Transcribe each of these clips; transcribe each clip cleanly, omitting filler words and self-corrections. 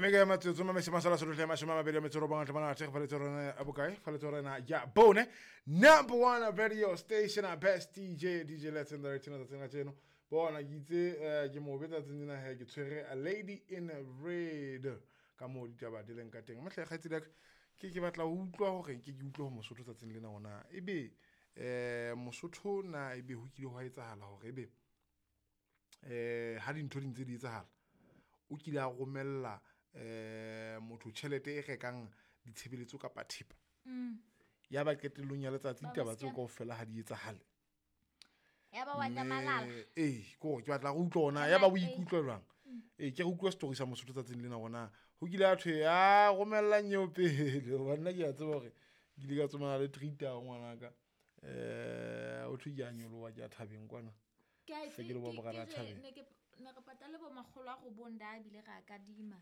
E mekae matsotso mamese masala solohle 29 tlhomana thekgo fa letsorena a bokae fa letsorena ya bone number one radio station a best DJ DJ Let's in the right tsatsing la tseno bona ke itse ke mobe tsatsing lena he ke tshwere a lady in red ka moo ditaba di leng ka teng matlhe kgaitsedi ya ka ke batla ho utlwa hore ke utlwe ho Mosotho tsatsing lena ona ebe Mosotho na ebe ho kile hwa etsahala hore ebe ha dintho di ntse di etsahala o kile a romella motho tjhelete e rekang ditshebeletso kapa thepa ya ba qetellong ya letsatsi ditaba tseo kaofela ha di etsahale ya ba wa nyamalala ee ke gore ke batla go utlwa ona ya ba o ikutlwa jwang ee ke re utlwa story sa Mosotho tsatsing lena gona ho kile a thwe a romellang eo pele hoba nna ke a tseba hore ke ile ka tsomana le treat-a ngwanaka o thwe ke a nyoloha ke a thabeng kwana Se ke le bo Morena Thabeng. Ne re patale bo 900 da bile ra kadima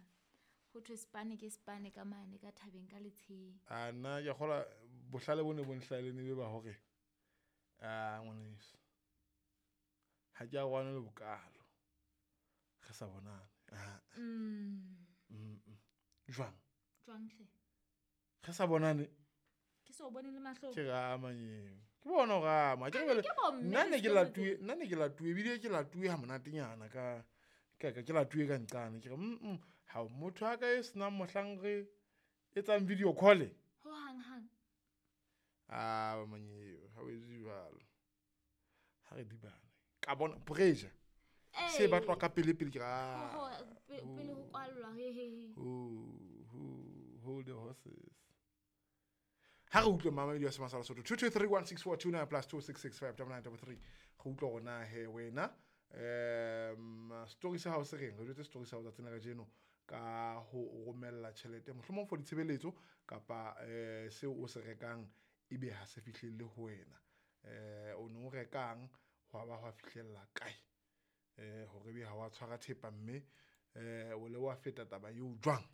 ho thwe spane ke spane ka mane ka thabeng ka letsheng. A nna ke kgola bohlale bo ne bo nhlahile ne be ba hore a ngwaneso ha ke a rwane le bokalo re sa bonane. Jwang Jwang hle? Re sa bonane Ke so bone le mahlong. Ke rama nyeo. Ke bona o rama. Ke Ke bo mme nna ne ke le latuwe, nna ne ke latuwe ebile ke latuwe ha monatenyana ka ke latuwe ka nqane ke re ha motho a ka e senang mohlang re etsang video call. Ho hang hang. A manyeo ha o etse jwalo. Ha re dibane. Ka bona pressure. Se batlwa ka pele pele ke ra. Ho pele ho kwallwa he he he. Hold the horses. Ha re utlwe mama video se masala Sotho 2231642 plus 26659933 re utlwa rona he wena story sa hao se reng re jwetse story sa hao tsatsing la kajeno ka ho romella tjhelete mohlomong for ditshebeletso kapa seo o se rekang ebe ha se fihlelle ho wena o no rekang hwa ba hwa fihlella kae hore ebe ha wa tshwara thepa mme o le wa feta taba eo jwang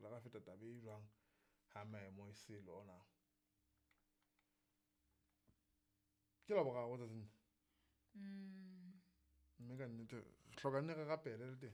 re la feta taba e jwang ha maemo e se lona ke la boraro tsatsing mme ka nnete re hloka nne re rapele le teng.